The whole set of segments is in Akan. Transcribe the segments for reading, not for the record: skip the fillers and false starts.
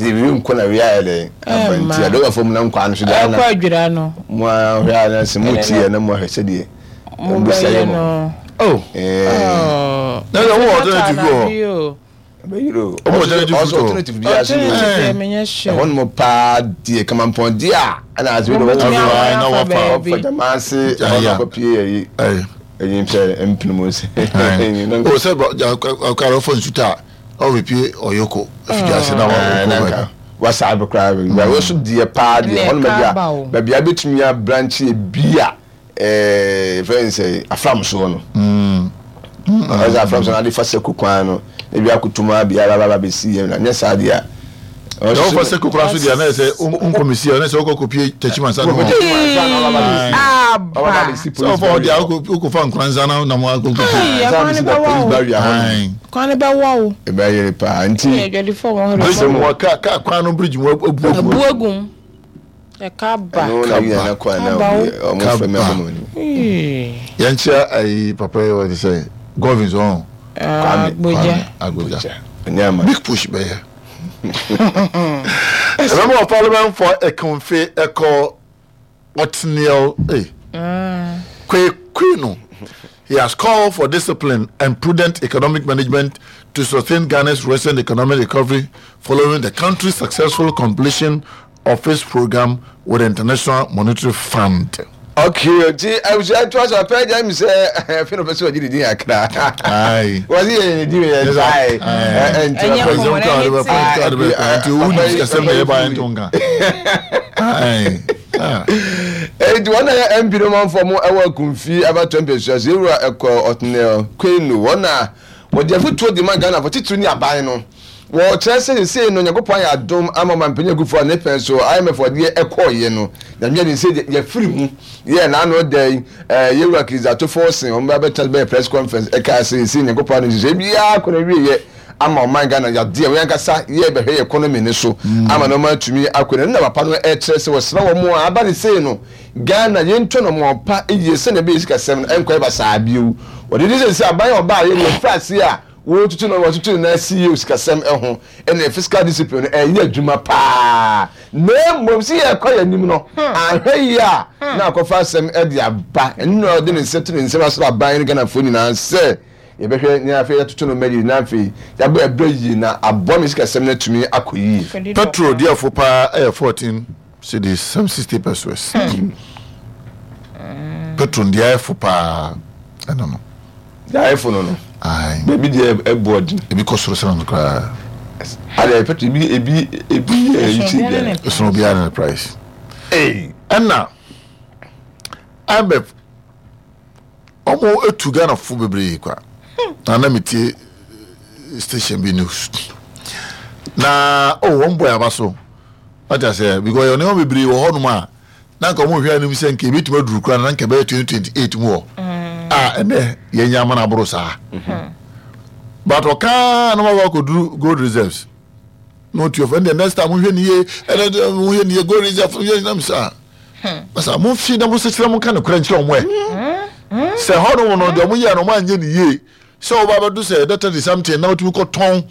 Ɛsɛ wei nkɔ na wei ayɛ dɛn aba nti adɔbafo mu na nkwa no so deɛ ɛkɔ adwira no. Mo ahwɛ a na sɛ mo ti yɛ na mo ahwɛ sɛdeɛ mo bɛyɛ no. Oh. Na yɛ wɔ alternative bi wɔ hɔ. Ɛbɛyere o. Ɔmo alternative Ɔsɔ food alternative bi ase. Alternative deɛ menyɛ sure. Ɛhɔ nom paa deɛ kamampɔn deɛ a ɛna ase bi Mo de bɛtumi wɔn awɔ na afa wafa. baabi. ɔfa gyama ase ɛhɔ na ɔkɔ pie yɛ yi. Ɛyi mpɛ mpene mu nsɛ. O sɛ ɔkara ɔfa nsuta a ɔbɛpie ɔyɔkɔ afidie ase na wakɔ. Wasa abɛ koraa bɛ wɔ so deɛ paa deɛ hɔ nom baabi a baabi a bɛtumi abrankye bi a ɛɛ fɛn sɛ afram soɔ no. Ɔsɛ afram soɔ no ade fa sɛ kwan no ebi akoto mu abi aba aba bɛsi yɛ na nyɛ saa deɛ a. Na wofa sɛ kokora so deɛ na ɛsɛ nkɔmisi a na ɛsɛ wokɔ kɔpie Techiman sa no hɔ. Aba. Sɛ wofa hɔ deɛ wokɔfa Nkoranza na nam akɔ kɔpie. Kwan ne bɛwɔ wo. Kwan ne bɛwɔ wo. Ɛbɛyere paa nti. Adwadifo wɔn hɔ. Bridge mu ka kwan no bridge mu abu agu. Abu agu mu. Ɛka ba. Ɛno na yɛ na kwan na ɔmo fɛ mi abɔ mu anim. Yɛnkyia ayi papa yi wɔde sɛ Govins ɔn. Kwame Agbogya. Agbogya. Big push bɛyɛ. Member of Parliament for Ekumfi Eko Otniel eh. Kwekwino. He has called for discipline and prudent economic management to sustain Ghana's recent economic recovery following the country's successful completion of its program with the International Monetary Fund. Okay, nti abusua to aso apɛ gya mi sɛ ɛfɛ na ɔpɛ sɛ ɔgye ne din akra. Wɔsi yɛ ne din yɛ ntae. Nti Ɛnyɛ ɔpɛ kɔmɔ na ɛnyɛ tea. Nti owu ni sikasɛm na ɛyɛ ba yɛn to nka. Nti wɔn na yɛ MP no manfoɔ mo ɛwɔ akumfi abatoɔ mpɛsua so ewura ɛkɔ Otniel Kwenu wɔn na wɔde afutuo de ma Ghana fo titiri ne aban no. Wɔkyerɛ sɛ sesei no Nyankopɔn ayɛ adom ama Ɔmanpanyin Akufo a ne pɛn so IMF ɔdeɛ ɛkɔɔyɛ no Nyame adom sɛ yɛfiri mu yɛɛ n'ano da yi eh, Yɛwura Kizzato Forson wɔn ba bɛtena bɛyɛ press conference ɛkaa sɛ sesei Nyankopɔn adom nhyehyɛe biara kɔ n'awieɛ ama ɔman Ghana yadeɛ wɔn ankasa yɛ bɛhwɛ yɛ economy no so ama nneɛma atumi akɔ n'anim na papa no ɛkyerɛ sɛ wɔsrɛ wɔn a aba ne sei no Ghana yɛntu anamɔn pa yie sɛnea ɛbɛyɛ sikasɛm no ɛnkɔyɛ basaa bio. Wɔde di sɛ sɛ aban a ɔbaayɛ no wɔfiri aseɛ a Wɔretutu no, wɔatutu ne nan ase yie wɔ sikasɛm ho ne fiscal discipline no, ɛreyɛ adwuma paa. Na mmom sɛ yɛrekɔ yɛn anim no, anhwɛ yie a na akɔfa asɛm de aba. Ɛno na ɔde ne nsa to ne nsam asrɛ aban ne Ghanafoɔ nyinaa sɛ yɛbɛhwɛ na afei yɛatoto no mma yie na afei yɛabɔ yɛn bra yie na aboa ma sikasɛm no atumi akɔ yie. Petrol diɛfo paa yɛ 14 cedis some 60 pesewas. Petrol diɛfo paa ɛno no. Yaefo no no. Aye. Baabi deɛ ɛboɔ den. Ebi kɔ soro sene no koraa. Adeɛ pɛtɛ ebi ebi ebi yɛ yi ti deɛ. Ɛsono obiara ne ne price. Ee. Ɛna IMF wɔn etu Ghana fo bebree kwa. Na na metie station bi news. Na oh wɔn bɔ yaba so. Wate aseɛ because yɛ nneɛma bebree wɔ hɔnom a. na nka wɔn hwɛ anim sɛ nka ebetumi aduru koraa na nka ɛbɛyɛ 2028 mu hɔ a ɛnɛ yɛnya amana aboro saa but ɔkaa na wɔn akɔduru gold reserves na ɔtu ɔfɛ ɛnna next time mohwɛ ne yie ɛnna mohwɛ ne yie gold reserve yɛ nam saa basa mo fi na mo sekyerɛ mo nka ne korɛ nkyerɛ wɔn ɛ sɛ hɔ nom no deɛ wɔn yɛ no wɔn anyɛ ne yie sɛ wɔba abɛdo sɛ ɛdɛ 30 something na wɔtumi kɔtɔn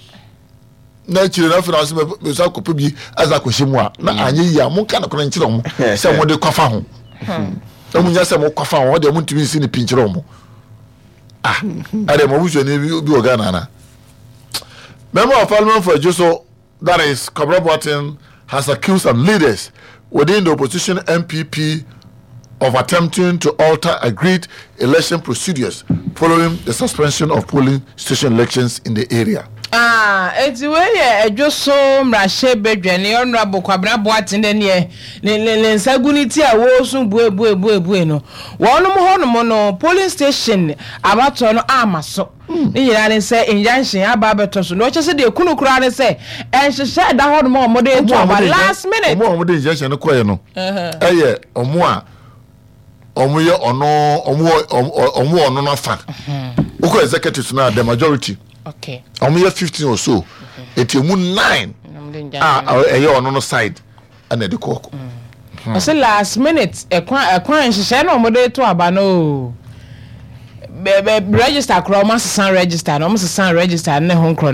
na akyire no afei na ɔsɛ mɛsa akɔpɛ bi asa akɔhyɛ mu a na mm. anyɛ yie a monka nokorɛ nkyerɛ ɔmo sɛ mode kɔfa ho na monya sɛ mokɔfa ho ɔdeɛ montumi nsi ne pi nkyerɛ ɔmo ah ɛdeɛ mo abusuani bi wɔ Ghana ana Member of Parliament for Ejisu that is Kwabena Boateng has accused some leaders within the opposition NPP of attempting to alter agreed election procedures following the suspension of polling station elections in the area. Ah, enti wei yɛ Adwo so mmarahyɛbadwani Honourable Kwabena Boateng dɛ neɛ ne ne ne nsa gu ne ti a wɔresu bue bue bue bue no. Wɔnom hɔnom no polling station abatoɔ no amma so. Ne nyinaa ne sɛ injunction aba abɛtɔ so. Na ɔkyɛ sɛ deɛ kunu koraa ne sɛ nhyehyɛ ɛda hɔ nom a wɔde reto aba last minute. Wɔn a wɔde injunction no kɔɛ no ɛyɛ wɔn a wɔn yɛ ɔno wɔn wɔ ɔno n'afa. Wokɔ executives no a the majority wɔn yɛ 15 or so eti emu 9 a ɛyɛ ɔno no side. Ɛna ɛde kɔ. Ɔsɛ last minute ɛkwan ɛkwan nhyehyɛ na wɔde to aba no o. Bɛ bɛ register koraa wɔn asesa register na wɔn sesa register ne ho nkorɔ.